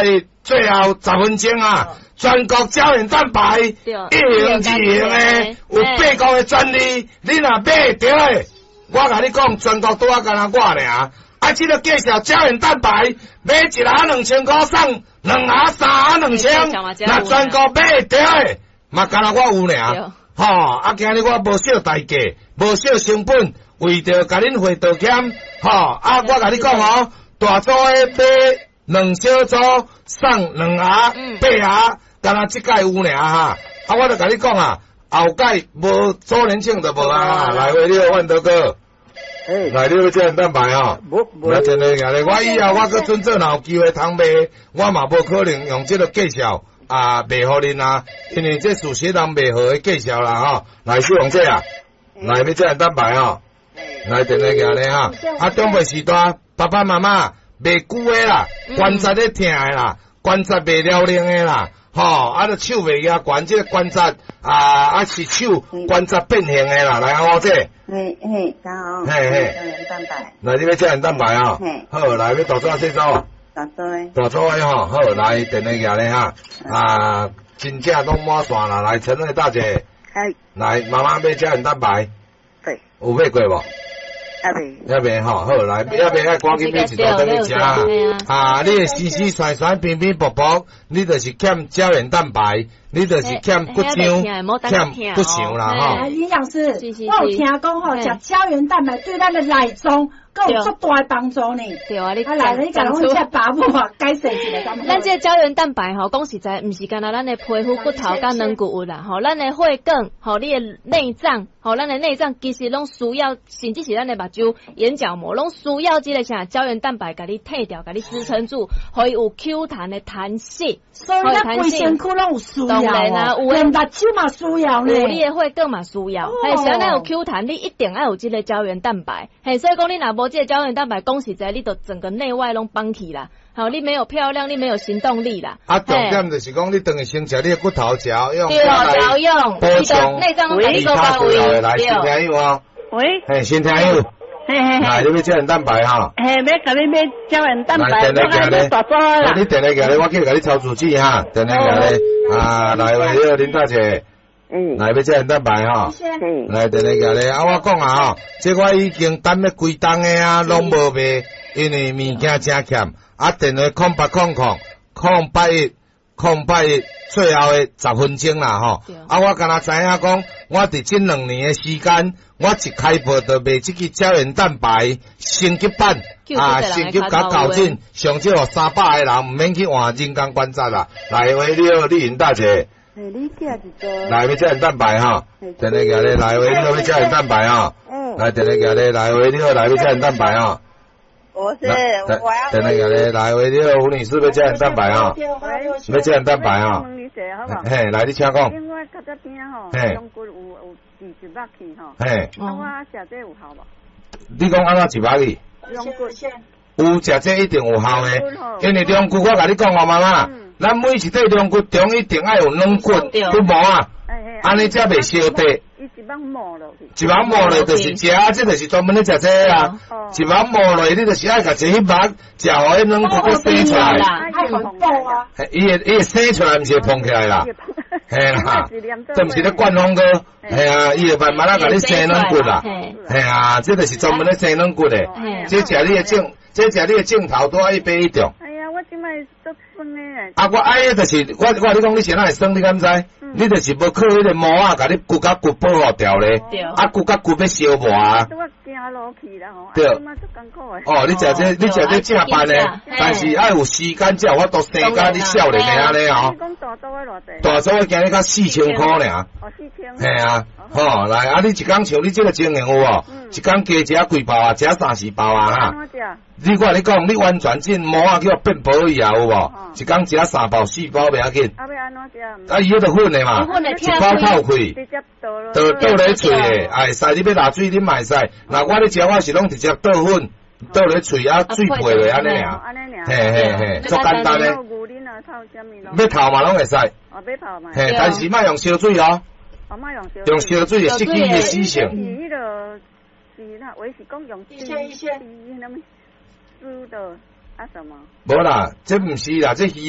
8、1，最後10分鐘啊！全國膠原蛋白一型、二型的，有八國的專利，你若買著的，我共你講，全國拄仔干焦我爾。啊，這個介紹膠原蛋白，買一盒2000箍送兩盒三盒2000，若全國買著的，嘛干焦我有爾。吼，啊，今日我無惜代價，無惜成本，為著共恁會道歉，吼，啊，我共你講哦，大組的買兩小組送兩盒八盒，干焦這擺有爾哈。啊，我就共你講啊，後蓋無周年慶就無啊。來，喂，你好，萬德哥。來，你欲膠原蛋白吼？來，真的，我以後我閣準做，若有機會通賣，我嘛無可能用這個介紹啊賣予恁啊，因為這事實人賣好的介紹啦吼。來，小王姐啊，來欲膠原蛋白吼？來，電話寄咧哈。啊，長輩時代，爸爸媽媽袂久的啦，關節咧疼的啦，關節袂了靈的啦，吼，啊，著手袂舉懸，這個關節啊啊是手關節變形的啦，來，阿姐。嘿嘿，好。嘿嘿。膠原蛋白。來，你欲膠原蛋白啊？好，來，欲大組細組？大組。大組的吼，好，來，電話寄咧哈。啊，真正攏滿線啦，來，陳慧大姐。來，媽媽欲膠原蛋白。對。有買過無？猶未。猶未吼，好，來，猶未愛趕緊買一組轉去食啊！你的絲絲酸酸、平平薄薄，你就是欠膠原蛋白，你就是欠骨漿、欠骨相啦吼。營養師，我有聽講吼，食膠原蛋白對咱的內臟閣有足大的幫助呢。對啊，你啊來，你共阮這爸母啊解釋一下。咱這個膠原蛋白吼，講實在，毋是干焦咱的皮膚、骨頭佮軟骨有啦，吼，咱的血管，吼，你的內臟，吼，咱的內臟其實攏需要，甚至是咱的目睭、眼角膜，攏需要這個啥膠原蛋白，共你退掉，共你支撐住，予伊有 Q 彈的彈性。所以咱規身軀攏有需要啊，有連目睭嘛需要呢。有你的血管嘛需要，嘿，啥咱有 Q 彈，你一定愛有這個膠原蛋白，嘿，所以講你若無這個膠原蛋白，講實在，你就整個內外攏崩去啦。好，你沒有漂亮，你沒有行動力啦。啊，重點就是講，你轉去先食你的骨頭嚼用，對，調用，補充內臟攏共你做到位。來，新聽友哦。喂。嘿，新聽友。嘿嘿嘿。來，你欲膠原蛋白哈？嘿，欲共你買膠原蛋白，我愛買大組啦。你電話寄來，我去共你抄住址哈。電話寄來，啊，來，喂，你好，林大姐。來欲膠原蛋白吼，來電話寄來。啊，我講啊吼，這我已經等欲幾冬的啊，攏無賣，因為物件誠欠。啊，電話0800 081 081，最後的10分鐘啦吼。啊，我敢若知影講，我佇這2年的時間，我一開播就賣這支膠原蛋白升級版，啊，升級甲校準，上少予300個人毋免去換人工關節啦。來，喂，你好，麗雲大姐。來，欲膠原蛋白哈，電話寄來，來，喂，你好，欲膠原蛋白哈。來，電話寄來，來，喂，你好，來，欲膠原蛋白哈。我是，我要。電話寄來，來，喂，你好，胡女士，欲膠原蛋白哈，欲膠原蛋白哈。嘿，來，你請講。因為較早邊吼，龍骨有擠一肉去吼。嘿。啊，我食這有效無？你講按怎一肉去？龍骨。有食這一定有效的，因為龍骨我共你講哦，媽媽，咱每一塊龍骨中一定愛有軟骨、骨膜啊，按呢才袂燒地。伊一網磨落去，一網磨落就是食，這就是專門咧食這個啊。一網磨落，你就是愛共這彼肉食，予彼軟骨閣生出來。愛補啊！伊會生出來，毋是會膨起來啦。嘿啦，這毋是咧灌風哥，嘿啊，伊會慢慢仔共你生軟骨啦。嘿啊，這就是專門咧生軟骨的。這食你的正，這食你的正頭拄仔一擺一中。哎呀，我這擺足酸的。啊，我愛的就是我，我共你講，你是哪會酸？你敢知？你就是無靠彼個膜仔，共你骨佮骨保護掉咧。啊，骨佮骨欲相磨啊。我行路去啦吼。對。哦，你食這，你食這正辦的，但是愛有時間才有法度生甲你少年的按呢哦。你講大組的偌濟？大組的今日才4000箍爾。哦，4000。嘿啊，吼，來啊！你一工像你這個情形有無？一工加食幾包啊？食三四包啊？哈。你我共你講，你完全這膜仔叫變薄去啊，有無？一工食三包四包袂要緊。啊，欲按怎食？啊，伊彼著粉的嘛，一包透氣，直接倒倒倒咧喙的，會使你欲落水，你嘛會使。若我咧食，我是攏直接倒粉，倒咧喙啊，水配落按呢爾。嘿嘿嘿，足簡單的。欲泡嘛攏會使。哦，欲泡嘛。嘿，但是莫用燒水哦。哦，莫用燒水。用燒水會失去伊的死性。是彼個是那，我是講用水，什麼煮的啊什麼？無啦，這毋是啦，這魚。